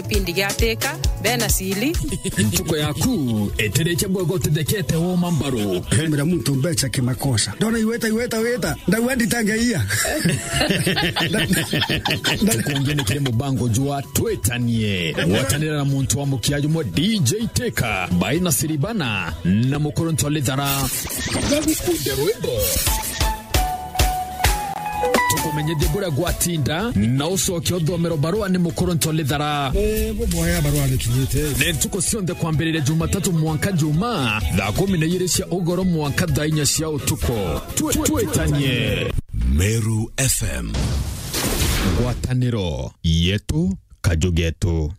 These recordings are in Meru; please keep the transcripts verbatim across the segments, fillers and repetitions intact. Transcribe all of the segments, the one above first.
Kipindi gia Teka, bena sili. Ntuko yaku, etereche bwega utethekete woma mbaru. Hemera muntu mbecha kimakosa. Ndona iweta, iweta, weta. Ndagua nditange iya. Tukungi ni kiri mubango jwa Twitanie. Gwatanira na muntu wa mukia jumwe D J Teka, by Nasiri Bana, na mukuru Ntolithara. Gagukunde rwimbo. Tukumenyithie buria gwatinda, na ucoke uthomero barua ni mukuru Ntolithara. Eh, buboya barua ni kinyite. Ni ntuku cionthe kwambiriria Jumatatu mwanka Juma, thaa kumi na igiri cia ugoro mwanka thaa inya cia utuku. Twi-, twitanie. Meru F M. Ngwataniro yetu, kaju getu.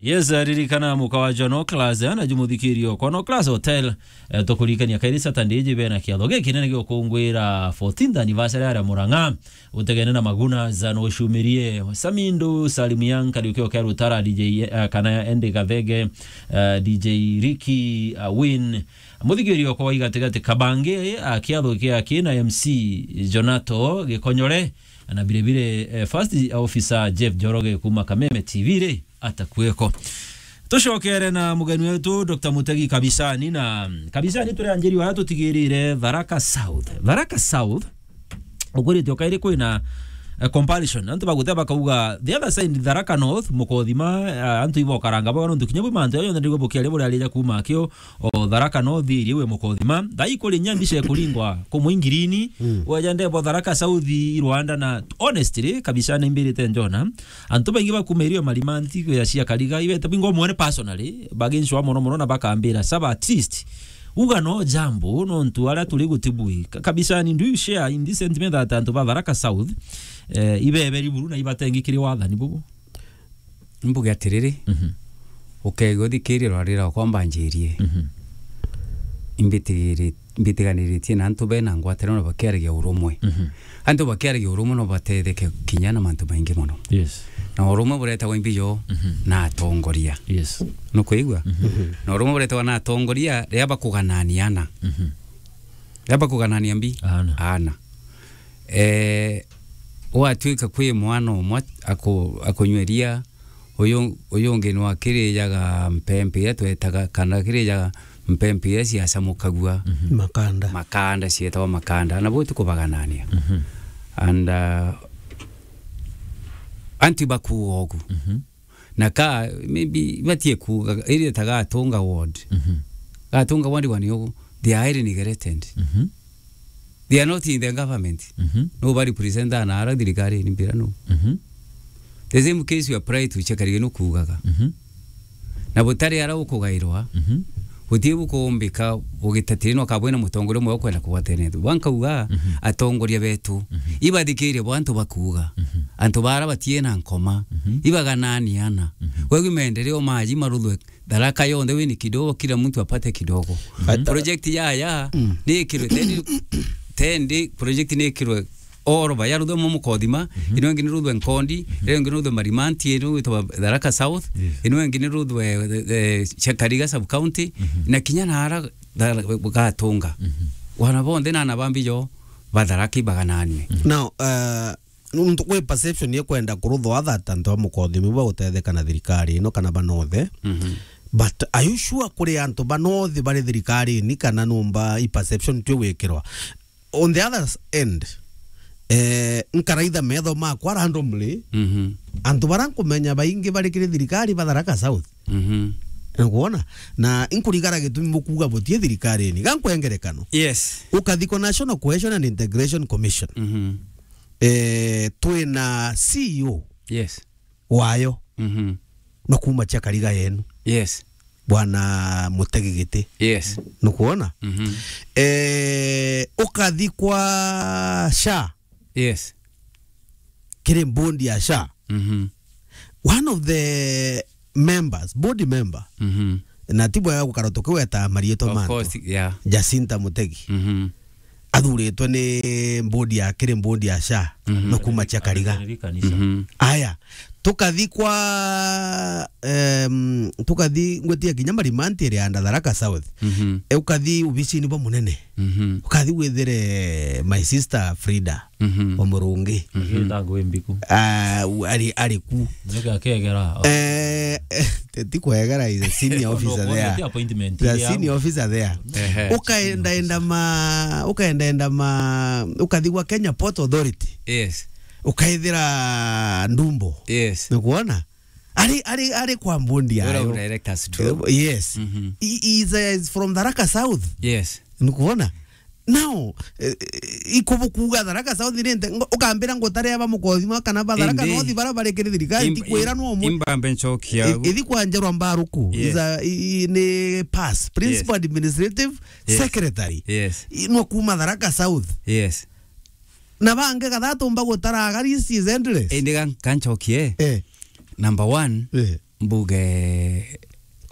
Yes, ririkana muka wa John O'Class, eh, na jumuthikirio kwa O'Class Hotel, eh, tukuririkania kairi Saturday iji bena kiatho gikinene gia gukungwira fourteenth anniversary aria Murang'a, utegene na Maguna, za no ucumirie Samindu, Salim Young, Kariuki Okeru Tara, D J, eh, kana Andy Gathege, eh, D J Ricky, eh, Win, muthikirio kwa waigatigati Kabange, eh, kiatho kia kina M C Jonato Gikonyore, na vile vile, eh, first officer Jeff Njoroge kuma Kameme T V ri, atakueko. Tucokere na mugeni wetu, Doctor Mutegi Kabisani. Na Kabisani, turi anjiri wa tutigirire Tharaka South. Tharaka South, ukwirite ukairi kwina, eh, compulsion. Antu baguteba bakauga, the other side, Tharaka North, Mukothima, eh, antu ibokaranga bwa nontu kinya bwi mantu ayo yonthe ndigwe bukiaria buria arija kuma akio, o Tharaka North iri we Mukothima. Thaa ikuri nya mbica ikuringwa kumwe ngirini. Mm. Weja ndebo Tharaka South i Rwanda na honestly, kabisa ni mbirite njona. Antu baingi bakuma irio marima ntigo ya cia Kariga, ibete bingo mwene personally, bagincwa mono mono na bakambira, "Saba at least. Uga no jambo, no ntu aria turi gutibui." Ka-, kabisa ni, do you share in this sentiment that antu ba Tharaka South, eh, ibeberi buru na ibatengi kiri wathani bubu? Mbuge atiriri, Mhm. ukegwa uthikirie rwarira rwakwa mbanjirie. Mhm. Imbitigiri-, mbitiganiritie na antu bena ngwataniro na bakiaragia urumwe. Mhm. Antu bakiaragia urumwe no batetheke kinya na mantu maingi mono. Yes. Na urumwe buretagwa imbijo Mhm. na atongoria. Yes. Nukwigua? Mhm. Na urumwe buretagwa na atongoria riria bakuganania ana. Mhm. Riria bakuganania mbi? Ana. Ana. Eh, gwatuika kwi mwana umwe aku-, akunywa iria, uyu, uyu ungi nwa kirijaga mpempe iria twetaga, kana kirijaga mpempe iria ciacamukagua. Mhm. Makanda. Makanda, cietagwa makanda. Na bo tikubaganania. Mhm. And, uh, antu ibakuuga ugu. Mhm. Na ka, maybe, batie kuuga, iri ta Gatunga ward. Mhm. Gatunga ward bani ugu, they are highly neglected. Mhm. They are not in the government. Mhm. No ba represent na ara thirikari ni mbira no. Mhm. The same case you apply to Chakariga no kuugaga. Mhm. Na butari ara ukugairwa, Mhm. butie bukumbika ugitatiri no kabwena mutongoria umwe ukwenda kugwatene. Wankauga, Mhm. atongoria betu, Mhm. ibathikirie bo antu bakuuga. Mhm. Antu bara batie na nkoma, Mhm. ibaganani ana. Mhm. Wegu maendeleo maji maruthwe Tharaka yonthe wini kidogo, kila mtu apate kidogo. But, uh, project ya, ya, Mm. ni ikirwe tendi, tendi project ni ikirwe oro ba yaruthwe mo Mukothima, Mhm. ino ingi ni ruthwe Nkondi, Mhm. ino ingi ni ruthwe Marimanti, ino gwitwa Tharaka South, Yes. ino ingi ni ruthwe, eh, eh, Chakariga sub county, Mhm. na kinya na ara Tha-, Gatunga. Mhm. Wana bonthe na ana bambi jo ba Tharaka ibagananwe. Mhm. Now, uh, nuntu kwi perception ye kwenda kuruthwa that antu ba Mukothima bagutetheka na thirikari ino kana banothe. Mhm. But are you sure kuri antu banothe bari thirikarini kana numba i perception tu gwikirwa? On the other end, eh, nkaraitha metho makwa randomly, Mhm. antu bara nkumenya baingi bari kiri thirikari ba Tharaka South. Mhm. Nikuona? Na inkurigara gitumi bukuuga butie thirikarini. Ga nkwengerekano. Yes. Ukathi kwa National Cohesion and Integration Commission. Mhm. Eh, twina C E O Yes. wayo Mhm. no kuma Chakariga yenu. Yes. Bwana Mutegi Giti. Yes. Nukuona? Mhm. Eh, ukathi kwa SHA. Yes. Kiri board ya SHA. Mhm. One of the members, board member, Mhm. na ti bwega gukara tukiweta mariitwa Of mantu. Course, yeah. Jacinta Mutegi. Mhm. Athuritwe ni board ya, kiri board ya SHA, Mhm. no kuma Chakariga. Ni kanisa. Mhm. Aya, Tukathi kwa, em, tukathi ngwiti ya kinya Marimanti iri under Tharaka South. Mhm. E, ukathi ubicini bwa munene. Mhm. Ukathi withire my sister Frida Mhm. wa Murungi. Mhm. Agitangwa imbiku. Ah, u-, ari, ari ku. Nyoke akegera. Eh, ti kwegera, is a senior No, officer no, there. Ti appointment, The iri senior au. Officer there. Ehe. Ukaenda enda ma, ukaenda enda ma, ukathi gwa Kenya Port Authority. Yes. Ukaithira Ndumbo. Yes. Nikuona? Ari, ari, ari kwa mbundi Ura ayo. Directors tu. Eh, yes. Mhm. He, he is, uh, is from Tharaka South. Yes. Nikuona? Now, eh, eh, ikubu kuuga Tharaka South ni nte, ngo-, ukambira ngutare aba mukothima kana ba Tharaka Indi. North bara bari kiri thirikari, Im-, ti kwira im-, no mu-, imbambe nchoki i-, yagu. Ithi kwa Njerwa Mbaruku, Yes. is a, i-, i-, ni pass, Principal Yes. Administrative Yes. Secretary. Yes. I-, no kuma Tharaka South. Yes. Na bangi kathatu mba gutara, agari is endless. Indi gan-, kanchokie. Eh. Number one, Eh. mbuge